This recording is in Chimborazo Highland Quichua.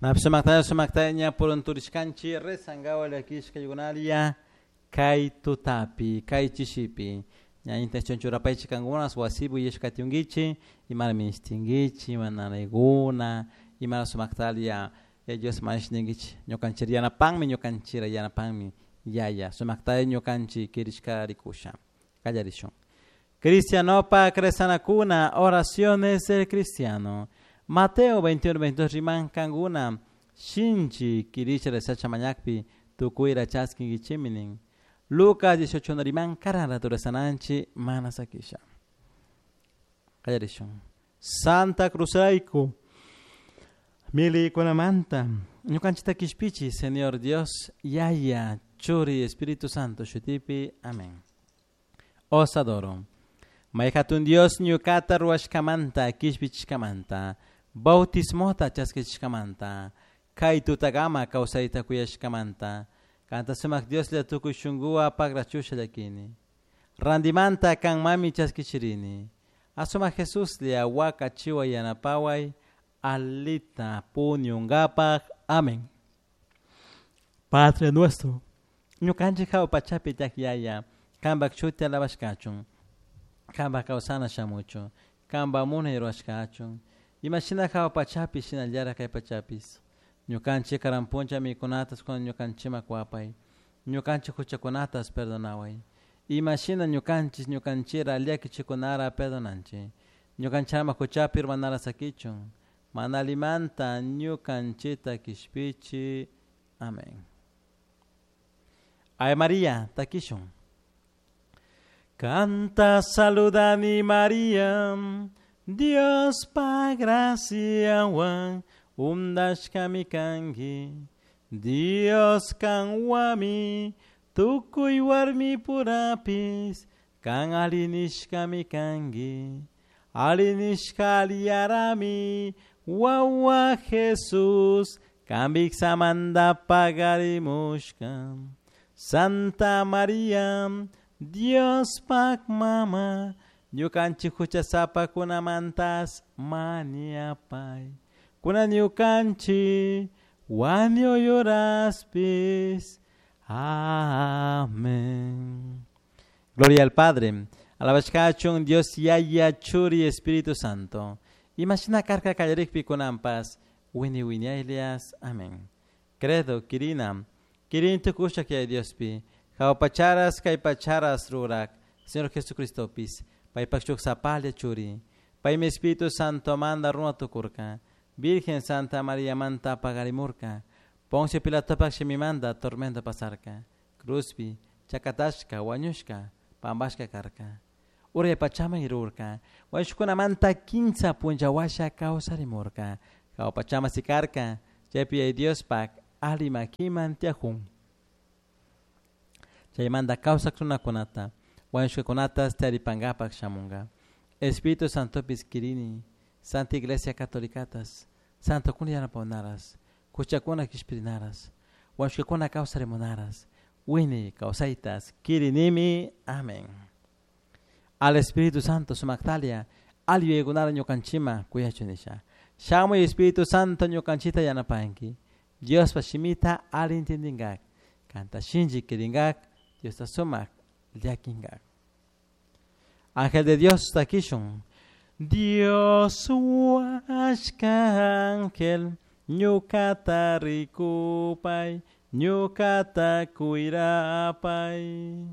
Sumaktaya sumaktaya ña purunturishkanchik rezankawa llakishka yukunaria kay tutapi kay chishipi ña intención churapaychik kankunas wasipi uyashka katiunkichik imara ministinkichik ima nanaykuna imara sumaktalia Dios mañash ninkichik ñukanchik yanapanmi ñukanchira yanapanmi yaya sumaktaya ñukanchik kirishka rikusha kallarishun. Cristianopak rezanakuna oraciones del cristiano. Mateo 21, 22 riman kankuna shinchi kirisha rezacha mañakpi tukuyra chaskinkichikmi nin. Lucas 18 riman karan rato rezananchik mana sakisha. Kallarishun. Santa Cruzrayku millaykunamanta ñukanchikta kishpichi Señor Dios Yaya Churi Espíritu Santo shutipi. Amén. Os adoro. May hatun Dios ñukata ruwashkamanta kishpichishkamanta bautismota chaskichishkamanta kay tutakama kawsayta kuyashkamanta kanta sumak Dioslla tukuy shunkuwan pakrachusha llakini. Randimanta kanmami chaskichirini. Asumak Jesuslla wakachiway yanapaway alita puñunkapaj. Amén. Padre nuestro, ñukanchik hawa pachapi tiyak yaya, kanpak shuti alabashkachun, kanpak kawsana shamuchun, kanpak munay rurashkachun, imashina hawa pachapi shinallara kay pachapis. Ñukanchik karan puncha mikunatas kunan ñukanchikman kuwapay, ñukanchik huchakunatas perdonaway, imashina ñukanchik ñukanchira llakichikunara perdonanchik, ñukanchik ama huchapi urmanara sakichun, mana allimanta ñukanchikta kishpichi. Amén. Ave María, takishun. Kanta saludani María, Dios pa graciawan undashkami kanki, Dios kanwami tukuy warmi purapis, kan alinishkami kanki, alinishka aliyarami, wawa Jesús, kanpik samanta pagarimushka. Santa María, Dios pak mama, ñukanchik huchasapakunamantas mañapay. Kunan ñukanchik wañuy horaspis. Amén. Gloria al Padre, alabashkachun Dios Yaya Churi Espíritu Santo. Imashina karka kallarikpi kunanpas, wini wiñaylias. Amén. Credo, kirina, kirin tukushak Yaya Diospi, hawa pacharas kay pacharas rurak, Señor Jesucristopis, paypak shuk sapalla churi, paymi Espíritu Santo manda runa tukurka, Virgen Santa María manta pagarimurka, Poncio Pilatopak shimimanta tormenta pasarka, cruzpi, chakatashka, wañushka, pampashka karka. Uray pachaman irurka, wañushkunamanta kinsa punlla washa kawsarimurka, hawa pachaman sikarka, chaypi Yaya Diospak alli makiman tiyajun. Chaymanta kawsak runakunata, wañushkakunatas tiyaripankapak shamunka. Espíritu Santopis kirini, Santa Iglesia Catolicatas, santokuna yanapawanaras, huchakuna kishpirinaras, wañushkakuna kawsarimunaras, wini kawsaytas kirinimi. Amén. Al Espíritu Santo sumaktalia, alli yuyaykunara ñukanchikman kuyachun nisha. Shamuy Espíritu Santo ñukanchikta yanapanki, Diospa shimita alli entendinkak, kanta shinchi kirinkak, Diosta sumak llakinkak. Ángel de Dios takishun. Dios huashka ángel, ñukata rikupay, ñukata cuirapay.